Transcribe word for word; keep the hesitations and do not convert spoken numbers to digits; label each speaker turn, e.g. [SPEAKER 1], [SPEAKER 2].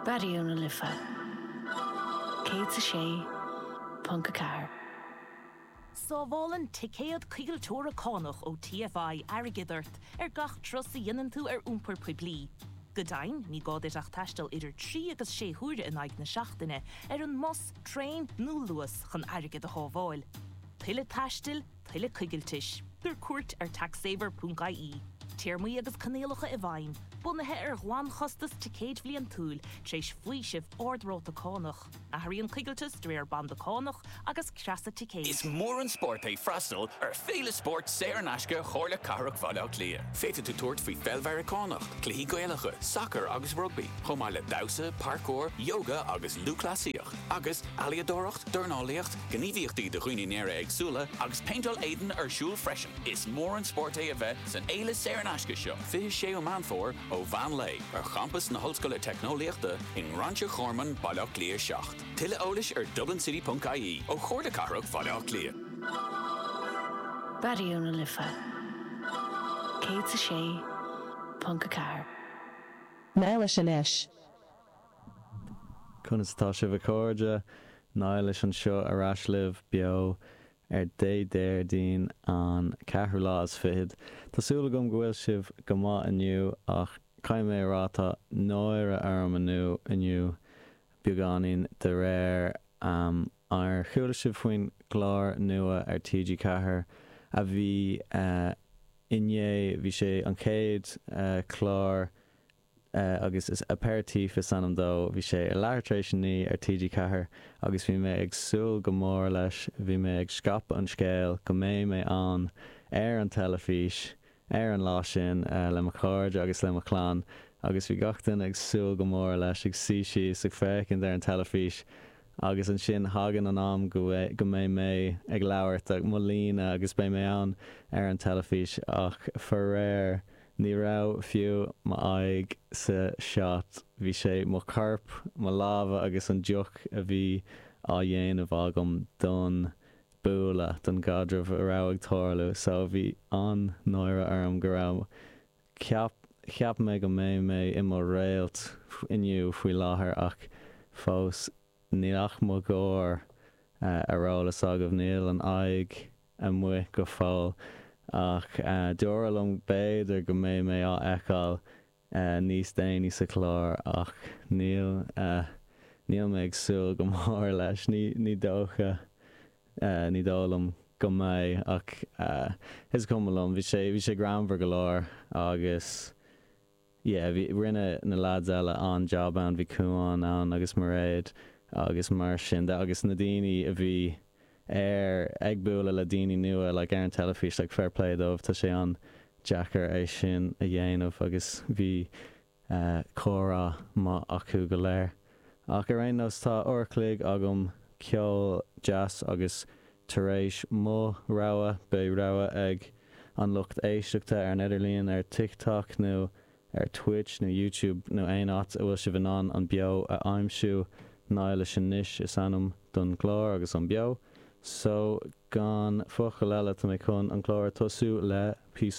[SPEAKER 1] Raidió na Life céad a sé ponc a ceathair.
[SPEAKER 2] Sábhálann ticéad coigilteora cánach ó TFI airgead ort ar gach turas a dhéanann tú ar iompar poiblí. Go deimhin, ní gá duit ach taisteal idir trí agus sé huaire in aghaidh na seachtaine ar an mbus, traein nó Luas chun airgead a shábháil. Tuilleadh taistil, tuilleadh coigiltis, tabhair cuairt ar taxsaver.ie. Téarmaí agus coinníollacha i bhfeidhm, bunaithe ar ghlanchostas ticéid bhliantúil tar éis faoiseamh ardráta cánach. Athraíonn coigilteas de réir banda cánach agus creasa ticéid.
[SPEAKER 3] Is mór an spórt é freastal ar Féile Spóirt saor in aisce Chomhairle Cathrach Bhaile Átha Cliath. Féadfaidh tú tabhairt faoi pheil Mheiriceánach, cluichí Gaelacha, sacar agus rugbaí, chomh maith le damhsa, parkour, yoga agus lúthchleasaíocht, agus ealaíodóireacht, dornálaíocht, gníomhaíochtaí do dhaoine néara-éagsúla agus péinteáil éadain ar siúl freisin. Is mór an spórt é a bheith san fhéile saor in aisce seo, fiche séú Meán Fómhair ó mheán lae ar champas na hOllscoile Teicneolaíochta i nGráinseach Ghorman Baile Átha Cliath seacht. Tuilleadh eolais ar dublincity.ie ó Chomhairle Cathrach Bhaile Átha Cliath.
[SPEAKER 1] Raidió na Life céad a sé ponc a ceathair.
[SPEAKER 4] Niallais anois.
[SPEAKER 5] Conas tá sibh a chairde Niallais anseo ar ais libh beo ar dé Déardaoin an ceathrú lá is fichead. Tá súil agam go bhfuil sibh go maith inniu ach caithfidh mé a rá tá náire orm inniu inniu beagáinín de réir um, ar chuala sibh faoin gclár nua ar TG Ceathair a bhí uh, inné bhí sé an chéad uh, clár uh, agus is aperitif is ainm dó bhí sé i leathuair tar éis a naoi ar TG Ceathair agus bhí mé ag súil go mór leis bhí mé ag scaipeadh an scéil go mbeidh mé an ar an teilifís ar an lá sin uh, le mo chairde agus le mo chlann agus bhí gach duine ag súil go mór leis ag suí síos ag féachaint ar an teilifís agus ansin thagann an am go go mbeidh mé ag labhairt ag mo líne agus beidh mé ann ar an teilifís ach faraor ní raibh fiú m'aghaidh sa shot bhí sé mo chorp mo lámha agus an deoch a bhí á dhéanamh agam don bualadh don gcaidreamh a raibh ag tarlú so bhí an-náire orm go raibh ceap cheap mé go mbeidh mé i mo réalt inniu faoi láthair ach fós níl ach mo ghlór uh, ar eolas agaibh níl an aghaidh amuigh go fóill ach uh, dúradh liom b'fhéidir go mbeidh mé á fheiceáil uh, níos déanaí sa chlár ach níl uh, níl mé ag súil go mór leis ní ní dócha uh, ní dóigh liom go mbeidh ach uh, is cuma liom bhí sé bhí sé greannmhar go leor agus yeah, bhí rinne na lads eile an job an bhí Cuan ann agus Mairéad agus mar sin de agus na daoine a bhí ar ag bualadh le daoine nua like ar an teilifís like fair play dóibh tá sé an-deacair é sin a dhéanamh agus bhí uh, comhrá maith acu go léir. Ach ar aon nós tá uair an chloig agam ceol deas agus tar éis mo rogha beidh rogha ag an lucht éisteachta ar an idirlíon ar TikTok nó ar Twitch nó YouTube nó aon áit a bhfuil sibh in ann an beo a aimsiú Niallais anois is ainm don chlár agus an beo. So gan focal eile tá mé chun an clár tosú le píosa